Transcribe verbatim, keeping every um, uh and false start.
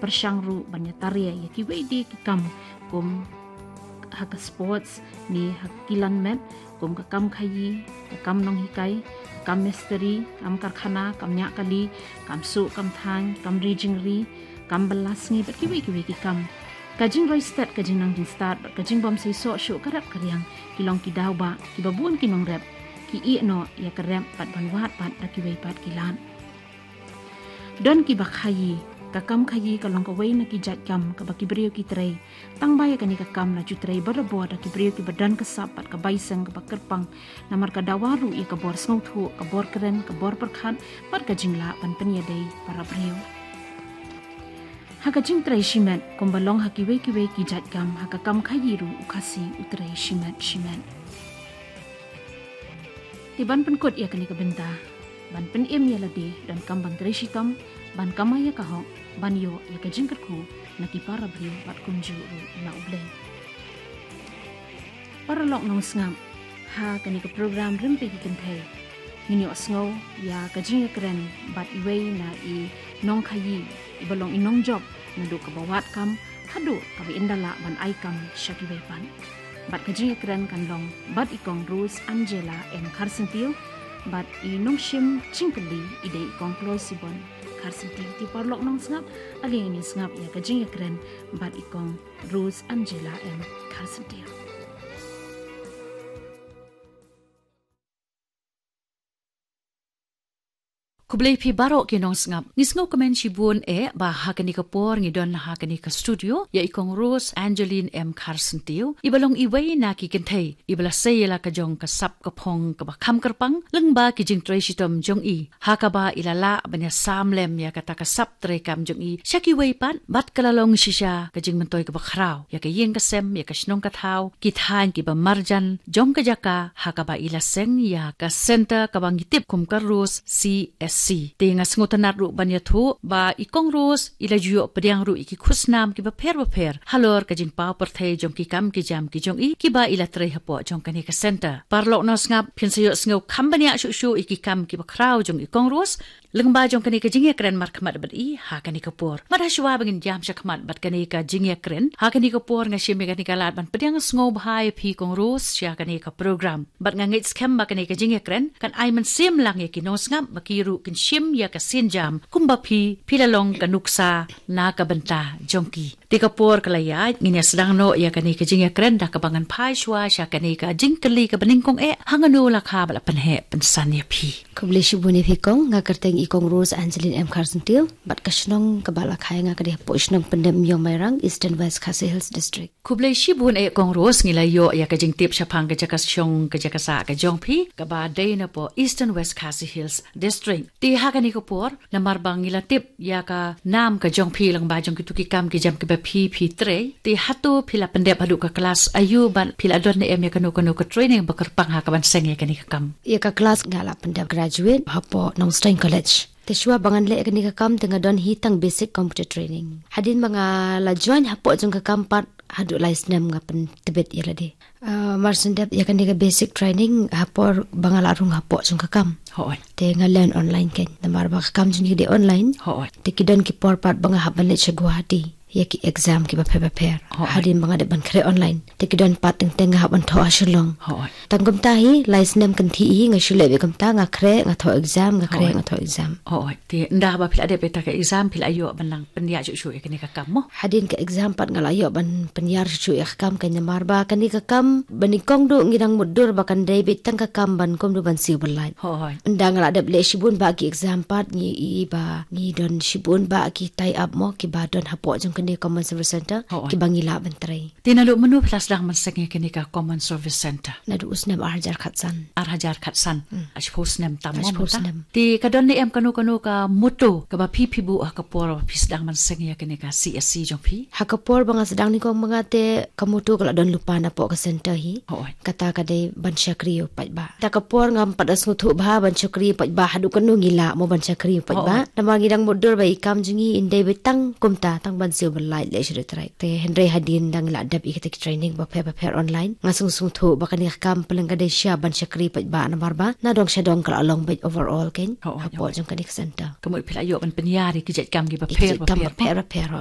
pyrshang ruh ban ïatar ïa kiwei de ki kam kum ha ka sports ne ha ki lan met, kum ka kam khaïi, ka kam nonghikai, ka kam mistri, kam karkhana, kam ñiah kali, kam suh kam thaiñ, kam ri jingri, kam bylla sngi bad kiwei kiwei ki kam. Ka jingroi stet, ka jingnang jingstad bad ka jingbym seisoh shuh ka rep ka riang ki long ki daw ba kiba bun ki nongrep ki ïeh noh ïa ka rep bad ban wad pat da kiwei pat ki lad. Don kiba khaïi, ka kam khaïi ka long kawei na ki jait kam kaba ki briew ki trei. Tang ba ïa kane ka kam la ju trei barabor da ki briew kiba don ka sap bad ka bai seng kaba kyrpang, namar ka dawa ruh ïa ka bor sngewthuh, ka bor kren, ka bor pyrkhat bad ka jinglah ban pynïadei para briew. Ha ka jingtrei shimet, kumba long ha kiwei kiwei ki jait kam, ha ka kam khaïi ruh u Khasi u trei shimet shimet. Te ban pynkut ïa kane ka bynta, ban pynim ïa lade, donkam ban trei shitom, ban kamai ïa ka hok, ban ïoh ïa ka jingkyrkhu na ki para briew bad kumjuh ruh na U Blei. Paralok nongsngap, ha kane ka program Rympei ki Kynthei, ngin ïohsngew ïa ka jingïakren bad iwei na i nongkhaïi, iba long i nongjop naduh kaba wad kam haduh kaba ynda lah ban ai kam sha kiwei pat. Bad ka jingïakren kan long bad i Kong Rose Angela M Kharsyntiew, bad i nongshim jingkylli i dei i Kong Kloisibon Kharsyntiew. Te paralok nongsngap, ale ngin ïa sngap ïa ka jingïakren bad i Kong Rose Angela M Kharsyntiew. Khublei phi baroh ki nongsngap. Ngi sngewkmen shibun eh ba ha kane ka por ngi don ha kane ka studio ïa i Kong Rose Angeline M Kharsyntiew, iba long iwei na ki kynthei iba la sei ïa la ka jong ka sap ka phong kaba kham kyrpang lyngba ki jingtrei shitom jong i, ha kaba i la lah ban ïasam lem ïa kata ka sap treikam jong i sha kiwei pat, bad ka la long shisha ka jingmyntoi kaba khraw ïa ka ïing ka sem, ïa ka shnong ka thaw, ki thaiñ kiba marjan jong ka jaka ha kaba i la seng ïa ka center kaba ngi tip kum ka Rose C S C. Te nga sngewtynnat ruh ban ïathuh ba i Kong Rose i la ju ïoh pdiang ruh ïa ki khusnam kiba pher bapher halor ka jingpaw pyrthei jong ki kam ki jam ki jong i kiba i la trei hapoh jong kane ka center. Paralok nongsngap, phin sa ïohsngew kham bniah shuh shuh ïa ki kam kiba khraw jong i Kong Rose lyngba jong kane ka jingïakren markhmat bad i ha kane ka por. Bad hashwa ba ngin jam shakhmat bad kane ka jingïakren ha kane ka por, nga shim ïa kane ka lad ban pdiang sngewbha ïa phi Kong Rose sha kane ka program. Bad nga ngeit skhem ba kane ka jingïakren kan ai mynsiem lang ïa ki nongsngap ba ki ruh kin shim ïa ka sienjam kumba phi, phi la long ka nuksa na ka bynta jong ki. Te ka por ka la ïaid, ngin ïa sdang noh ïa kane ka jingïakren da kaba ngan phai shwa sha kane ka jingkylli kaba nyngkong eh, hangno la kha ba la pynheh pynsan ïa phi? Khublei shibun ïa phi Kong, nga kyrteng i Kong Rose Angeline M Kharsyntiew, bad ka shnong kaba la kha ïa nga ka dei hapoh shnong Pyndep Ïong Mairang, Eastern West Khasi Hills District. Khublei shibun eh Kong Rose, ngi la ïoh ïa ka jingtip shaphang ka jaka shong ka jaka sah ka jong phi kaba dei napoh Eastern West Khasi Hills District. Te ha kane ka por, namar ba ngi la tip ïa ka nam ka jong phi lyngba jong kito ki kam ki jam kiba phi phi trei, te hato phi la pyndep haduh ka klas aïu bad phi la don ne em ïa kano kano ka training ba kyrpang ha kaban seng ïa kane ka kam? Ïa ka klas nga la pyndep graduate hapoh Nongstoiñ College. Te shuwa ba ngan leh ïa kane ka kam te nga don hi tang basic computer training. Hadien ba nga la join hapoh jong ka kam pat haduh lai snem nga pyntbit ïa lade. Ah, mar shen dep ïa kane ka basic training ha por ba nga la rung hapoh jong ka kam. Hooid. Te nga len online kein. Namar ba ka kam jong ngi ka dei online. Hooid. Te ki don ki por pat ba nga hap ban leit sha Guwahati ïa ki exam kiba pher bapher. Hooid. Hadien ba nga dep ban khreh online. Te ki don pat teng teng nga hap ban thoh ha Shillong. Hooid. Tang kumta hi, lai snem kynthih hi, nga shu leh beit kumta, nga khreh, nga thoh exam, nga khreh, hooid, nga thoh exam. Hooid. Te ynda ba phi la dep ïa kata ka exam, phi la ïoh ban nang pyndiah shuh shuh ïa kane ka kam mo? Hadien ka exam pat nga la ïoh ban pynïar shuh shuh ïa ka kam, kein namar ba kane ka kam ba nyngkong duh ngi dang mutdur ba kan dei beit tang ka kam ban kumno ban siew byllait. Hooid. Ynda nga la dep leh shibun bah ki exam pat ngi i ba ngi don shibun bah ki tie up mo kiba don hapoh jong kane Common Service Center, hooid, kiba ngi lah ban trei. Te naduh mynno phi la sdang ban seng ïa kane ka Common Service Center? Naduh u snem ar hajar khatsan. Ar hajar khatsan. Hmm. Ar shiphew snem tam mo mynta. Ar shiphew snem. Te ka don ne em kano kano ka motto kaba phi phi buh ha ka por ba phi sdang ban seng ïa kane ka C S C jong phi? Ha ka por ba nga sdang nyngkong ma nga te ka motto ka la don lypa napoh ka center hi. Hooid. Kata ka dei ban shakri ïa u paidbah. Ta ka por ngam pat da sngewthuh bha ban shakri ïa u paidbah haduh kano ngi lah mo ban shakri ïa u paidbah. Hooid. Namar ngi dang mutdur ba i kam jong ngi in dei beit tang kumta, tang ban siew byllait leh sha dei trai. Te hynrei hadien dang la dep ïa kita ki training bapher bapher online, nga sngewthuh ba kane ka kam pynlong ka dei sha ban shakri paidbah namar ba na dong sha dong ka la long beit overall kein. Hooid, hapoh jong kane ka center. Ka mut phi la ïoh ban pynïar ïa ki jait kam kiba pher bapher. Ki jait kam bapher bapher.